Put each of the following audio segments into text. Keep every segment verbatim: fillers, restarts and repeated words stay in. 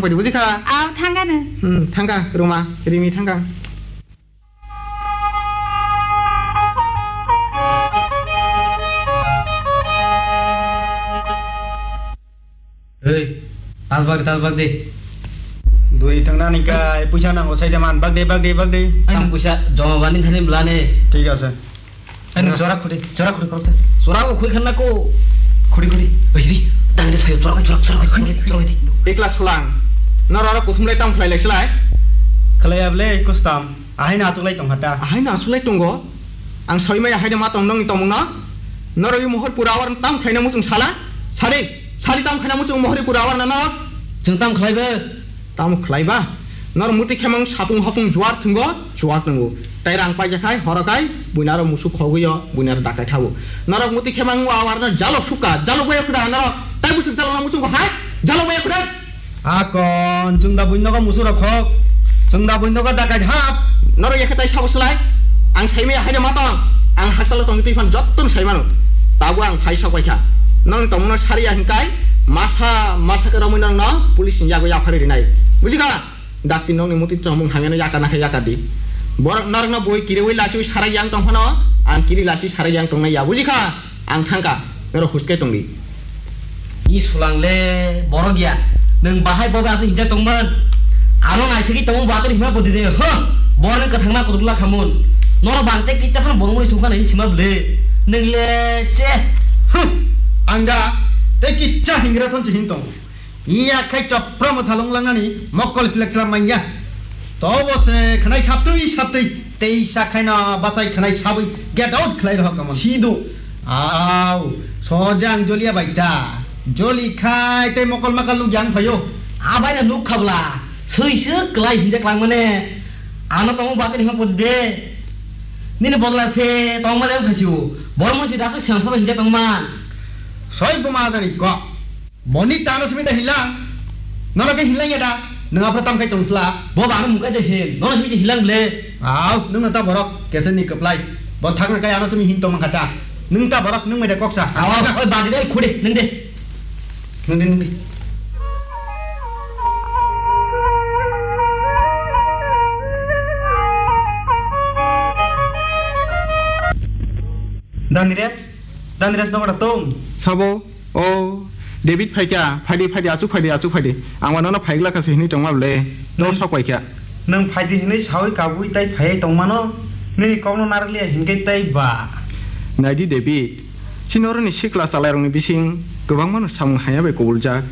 Pwidi buji kha? Aw, thangkha no. Hmm, thangkha, Ruma, Rimi thangkha. Hei, tas bag, tas bag de. Dui tangna ni kai, puisa nango sai de man, bag de, bag de, bag de. Ang puisa joma bani thani blane. Thik ase. Ani jora khudi, jora khudi korok ta. Jora ko khudi khanna ko. Khudi, khudi. Oi, oi, dang de sayo, jora, jora, jora, jora, jora, jora. Ekla sulang. Noro aro kuthum lai tam khlai lai silai. Khlai able kustam. Ahai na achuklai tong hata. Ahai na achuklai tongo. Ang sawi maya haino ma tong nongni tongmung no. Norok i mohor pura awar tam khlaina muchung sala. Sadi, sadi tam khlaina muchung mohor pura awar na norok. Chwng tam khlai be. Tam khlai ba. Norok muti khemang sapung hapung juar thungo, juar thungo. Tai rang paija khai, horo khai, buinaro musu khogwi o, buinaro dakai thabu. Norok muti khemang awar no jalo suka, jalo boya khuda norok. Tai busuk jalo na muchung hai, jalo boya khuda. Akon, chwng da buino ko musura khok. Chwng da buino ko dakai hap. Norok yakhe tai sabo slai. Ang saimaya haino ma tong. Ang haksalo tong twi phan jotto no saimano. Tabo ang phai sok bai kha. Nang tongno sari ya hingkai. Masa, masa ke romwi nang no. Police ni yago ya phari rinai. Buji kha? Dakti nokni muti tongmung hamyano yaka nakhe yaka di. Borok norokno boi kiriwi lasiwi sarai yang tong phano. Ang kiri lasi sarai yang tongnai ya. Buji kha? Ang thangkha, norok huske tongdi. I sulang le borok ya. Nwng bahai bobo aswk hinjak tongman. Ano naisiki tongo bator hima bodi de. Ho! Borok nwng kwthangna kutukla khamun. Norok bang tei kicha phano borok mui sungkha nai sima bwle. Nwng le che. Huh! Ang da tei kicha hingra thon se hin tong. Iya khai chopra mwthalung langnani mokol pilak chwla manya. Tobo se khnai saptwi saptwi tei sa khaino bachai khnai sabwi get out khlai rohor kamon. Sido. Au, soja ang jolia bai ta. Joli khai tei mokol makal nuk yang phaio. Abai na nuk khabla. Sui se klai hinjak lang mane. Ano tong batir hima pon de. Nini bodla se tong male phasiu. Bormon si dasak siang sabai hinjak tong man. Soi buma dani kok. Boni tano simi da hilang. Nono ke hilang ya da. Nang apa tam kai tong sla. Bo ba mung kai de hin. Nono simi hilang le. Au, nung ta borok kesen ni keplai. Bo thak na kai ano simi hin tong mangkata. Nung ta borok nung mai da koksa. Au, oi ba de khode nung de. Nung de nung de. Daniresh, Daniresh nokra tong. Sabo. O, David phaikha, phaidi, phaidi, achuk phaidi, achuk phaidi. Ang mano no phaigla kha se hinwi tongma bwle. Nor Nwng, sok paikha. Nwng phaidi hinwi sawi kabui tai phaiwi tongmano, nini kokno narwkliya hinkhe tai ba. Naidi David, chini oroni sikla chalairokni bising kwbangmano samung hamya bai kubuljak.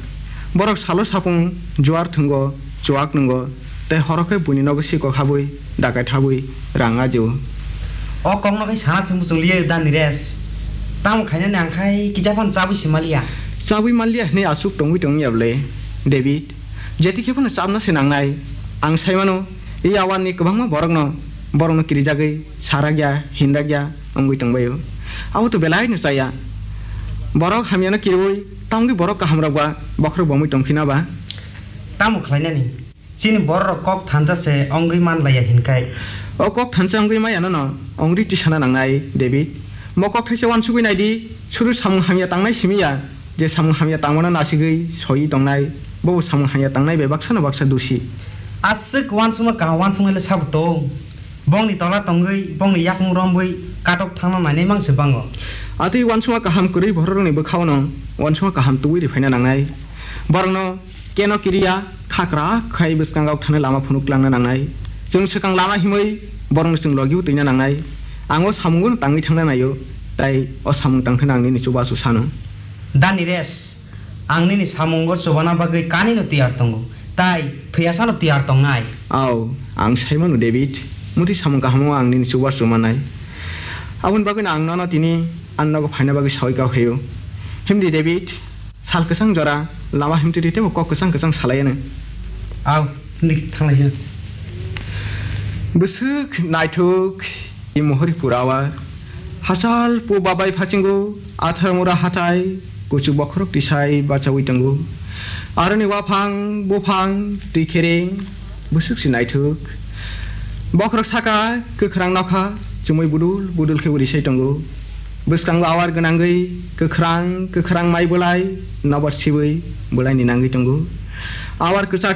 Borok salo sapung juar thwngo, chuak nwngo, tei horo khe buini nogo sikok habwi, dakai thabwi rang ajio. O kokno khe sana chwng muchung liya da Niresh. Tamo khainani ang khai kisa phano chabwi se maliya. Chabwi maliya hinwi aswk tongwi tongya bwle, David? Jeti khe phano chabna se nangnai. Ang sai mano, ei awarni kwbangma borokno, borokno kirijagwi sarakya, hinrakya wngwi tongbaio. Abo to belaino chaya. Borok hamyano kiriwi, tamogwi borok kahamrok ba bokhorok bomwi tongphina ba? Tamo khlainani? Chini bororok kok thansa se wngwi man laiya hinkai. O kok thansa wngwi maya nono wngri tisana nangnai, David. Mo kok thaisa uansugwi naidi, suru samung hamya tangnai simi ya, je samung hamya tangmano nasigwi soiwi tongnai, bobo samung hamya tangnai bai baksano baksa dusi. Aswk uansukma kaham uansuknai le sabo tong. Bongni tola tongwi, bongni yakung romwi katok thangna nainai mang se bango. Atwi uansukma kaham kwrwi bororokni bwkhao no uansukma kaham tubui ri phaina nangnai. Borokno Keno kiriya, khakra khai bwskango thani lama phunuk tlangna nangnai. Chwng swkang lama himwi borokno chwng logi utwina nangnai. Ang o samungo tangwi thangna naio, tai o samung tangthana ang nini chubachu sano. Da Niresh, ang nini samungo chubana bagwi kanino tiyar tongo, tai thwiyasano tiyar tongnai. Au, ang saimano David, muti samung kahamo ang nini chubachu manai. Aboni bagwino ang nono tini ani nogo phaina bagwi sawi kha phaio. Himdi David, Sal kwchang jora lama himtwi twi teibo kok kwchang kwchang salai ano. Au, himdi thanglai sino. Bwswk naithok i mohori purawa. Hachal po babai phasingo athar mura hathai kuchuk bokhorok tisai bachawi tongo. Aroni waphang buphang twi khereng. Bwswk se naithok. Bokhorok saka kwkhrang nokha chumui budul budul khe uri sai tongo. Bwskango awar gwnangwi kwkhrang kwkhrang mai bwlai nobar sibwi bwlaini nangwi tongo. Awar kwchak